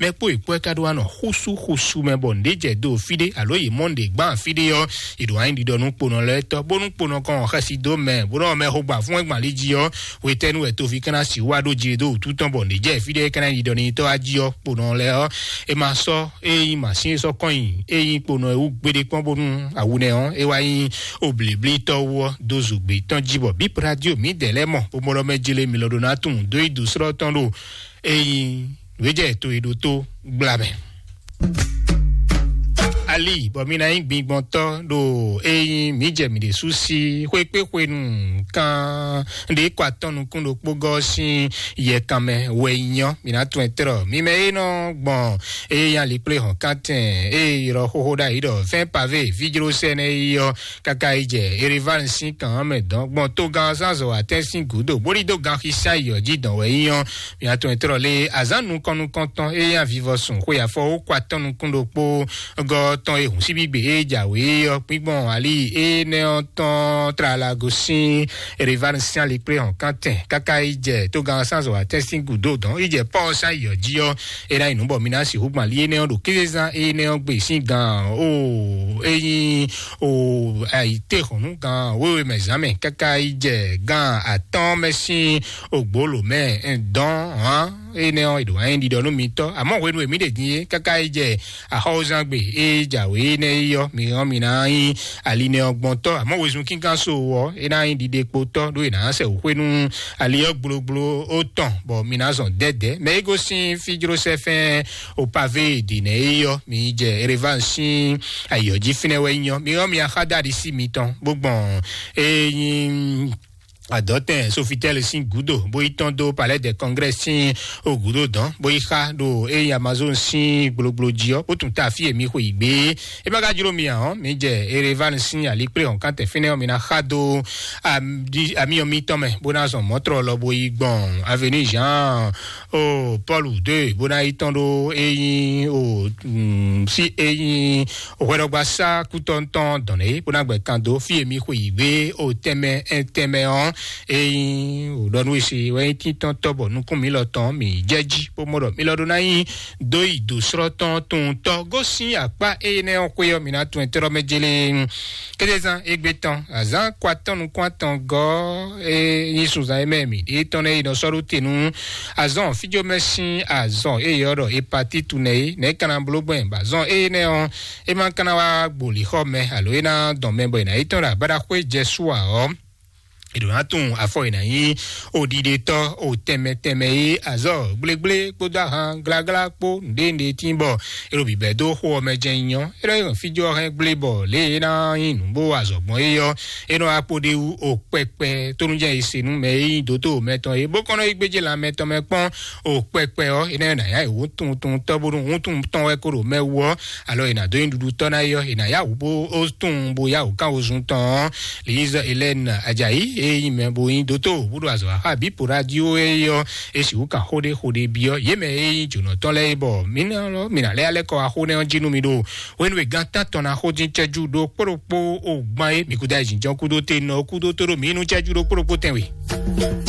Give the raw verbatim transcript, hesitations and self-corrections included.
Mɛ kpó yě kpó ɛ ka ɖó wá nɔ xúsú xúsú mɛ bɔ nǔɖé jɛ do fí ɖé alo yě mɔ nǔɖé gbán fí ɖé ɔ́, yě ɖo wá nyí ɖiɖɔ nú kponɔ lɛ́ɛ tɔ́, bónú kponɔ kɔn xɛsi dó mɛ, bónú mɛ xo gba fún ɛ gbǎn lí jí ɔ́, hwetɛ́nu wɛ toví ka ná sixú wá ɖó jí ɖó wútu tɔn bɔ nǔɖé jɛ fí ɖé ka ná nyí ɖiɖɔ n'i tɔ́ wá jí ɔ́, kponɔ lɛ́ɛ ɔ́, é ma sɔ́ é nyí mǎsin e sɔ́ kɔn nyi é nyí kponɔ e wú gbeɖé kpɔ́n bónú awu nɛ ɔ́, é wá nyí oblǐblítɔ́ wú ɔ́ dó zǔgbé tɔn jí bɔ bíp radio mǐdɛɛ lɛ́ɛ mɔ bó mɔ ɖɔ mɛ jlé mi lɔ ɖó ná tunwun dó yi dǒ slɔ́ tɔn ɖo é nyí wějɛ to e ɖó tó gbla mɛ. Ali bɔ mi ná nyí gbingbɔntɔ́ ɖo é nyí mǐ jɛ mǐ ɖésú sí xwé kpé xwenu kan ɖě kɔ atɔ́ nukún ɖokpó gɔ́ sín yɛkan mɛ wɛ nyɔ mi ná tún ɛ tlɔ mi mɛ é nɔ gbɔn é nyí ali kplé hɔn kántɛn é ylɔ xóxó ɖ'ayǐ ɖɔ fɛ́n pavé fíjló sɛnɛ yi ɔ́ káká yi jɛ Erevan sín kan ɔ́ mɛ dɔn gbɔn togán zánzɔ atɛ́n sín gǔdo bóli dó ganxisá yi ɔ́ jí dɔn wɛ nyí ɔ́. Mia tɔn e tlɔ lé azán nukɔn nukɔn tɔn é nyí avivɔsùn xwe afɔ ó kɔ atɔ́ nukún ɖokpó gɔ́ tɔn e hǔn síbígbe é jǎwe ɔ́ kpígbɔn ali énɛ́ ɔ́ tɔn tlalago sín Erevan sín ali kplé hɔn kántɛn káká yi jɛ togán sánzɔ atɛ́n sín gǔdo dɔn yi jɛ pɔ́ sá yi ɔ́ jí ɔ́. É ná yi nǔ bɔ mi ná sixú gbɔn ali énɛ́ ɔ́ ɖo kézezán énɛ́ ɔ́ gbe sín gan ó é nyí o ayǐtéhɔ̌nnu gan wéwe mɛ zán mɛ káká yi jɛ gan atɔ́ɔ́n mɛ sín ògbólò mɛ dɔn hǎn énɛ́ ɔ́, è ɖo wá nyí ɖiɖɔ nú mitɔ́. Àmọ́ hwenu e mǐ ɖe din é, káká yi jɛ axɔ́wúzán gbe e jǎwe énɛ́ é ɔ́, mi hɔn mi ná nyí ali nɛ ɔ́ gbɔn tɔ́. Àmọ́ wezun kíngán so ɔ́, é ná nyí ɖiɖekpotɔ́ ɖó è nǎ sɛ wǔxwé nú ali ɔ́ gblogbló ó tɔn, bɔ mi ná zɔn dɛ́dɛ́. Mɛ é gosín fíjlósɛ́fɛ́n opavé dǐnɛ é ɔ́, mi jɛ Erevan sín ayǐ ɔ́ jí fínɛ́ wɛ nyí ɔ́. Mi hɔn mi axá dó aɖisí mitɔn, bó gbɔn é nyí adɔtɛn Sofitel sín gúdo bó yi tɔn dó Palais de Congrès sín o gúdo dɔn bó yi xa ɖo eyi Amazon sín gblogbló jí ɔ́ bó tún ta fí e mi xwe yi gbé. E ma ka jló mi ǎ ɔ́, mi jɛ Erevan sín alikplé hɔn kan tɛ fínɛ́ ɔ́, mi ná xa dó amiyɔ mitɔn mɛ bó ná zɔn mɔ̌trɔ lɔ bó yi gbɔn Avenue Jean o Paul deux bó ná yi tɔn ɖó eyi o sí eyi hwɛɖɔgbasá kútɔntɔn dɔn é bó ná gbɛ kan dó fí e mi xwe yi gbé o tɛmɛ tɛmɛ ɔ́. Eyi o ɖɔ nú esi wɛ nyí títɔn tɔ́ bɔ nukún mi lɔ tɔn mi jɛ jí bó mɔ ɖɔ mi lɔ ɖó ná nyi dó yi dǒ srɔ́ tɔn tun tɔ́ gosín akpá énɛ́ ɔ́ xwé ɔ́ mi ná tun ɛtɛ́ mɛ jélé. Kédezán égbé tɔn azán kɔ atɔn nukún atɔn gɔ́ é nyí sunzan é mɛ mi ɖě tɔn nɛ yi nɔ sɔ́ ɖó te nú azɔn fíjó mɛ sín azɔn é yɔ ɖɔ hepatitu nɛ é nɛ̌ kana bló gbɛn bɔ azɔn énɛ́ ɔ́ é ma kana wá gboli xɔ mɛ alo é ná dɔn mɛ bɔ è nǎ yi tɔn ɖo abáɖaxwé jɛ sú ǎ ɔ́. È ɖǒ ná tunwun afɔ è nǎ nyí oɖiɖetɔ́ o tɛnmɛ tɛnmɛ é azɔ́ gblégblé kpódó ahan gláglá kpó nǔɖé nǔɖé tín bɔ è ɖo bǐbɛ́ dó xó ɔ́ mɛ jɛ́n nyí ɔ́. É nɔ yi hɛn fíjó ɔ́ hɛn gblé bɔ lě e é ná nyí nǔ bó azɔ̌ gbɔn é ɔ́, é nɔ wá kpo ɖ'é wú o kpɛkpɛ tónújɛ e se nú mɛ e nyí dǒtó mɛtɔn é bó kɔn nɔ yi gbéjé lan mɛtɔn mɛ kpɔ́n o kpɛkpɛ ɔ́, é nɔ ná yá yě wú tunwun tunwun tɔ́ bónú wúntun tɔn wɛ kó ɖo mɛ wú ɔ́, alo è nǎ dó nyi ɖuɖu tɔ́ ná é ɔ́, è nǎ yá wǔ bó ó tunwun bó yá wǔ kán wozun tɔn ɔ́. Liz Hélène Ajayi e nyí mɛ bó nyí dótó bó ɖo azɔ̌ xá Bipo Radio é ɔ́, é sixú kan xó ɖé xó ɖé byɔ́ yě mɛ e nyí jǒnɔ tɔn lɛ́ɛ é bɔ mǐ ná lɔ mǐ ná lɛ́ alɛ́ kɔ wá xó nɛ́ ɔ́ jí nú mi ɖo hwenu e gan tántɔn ná xó dín cɛ́jú ɖó kpó ɖokpó o gbán é mǐ kúdó ayǐjínjɔ́n kúdó te nɔ kúdó tó ɖo mǐ nú cɛ́jú ɖó kpó ɖokpó tɛnwe.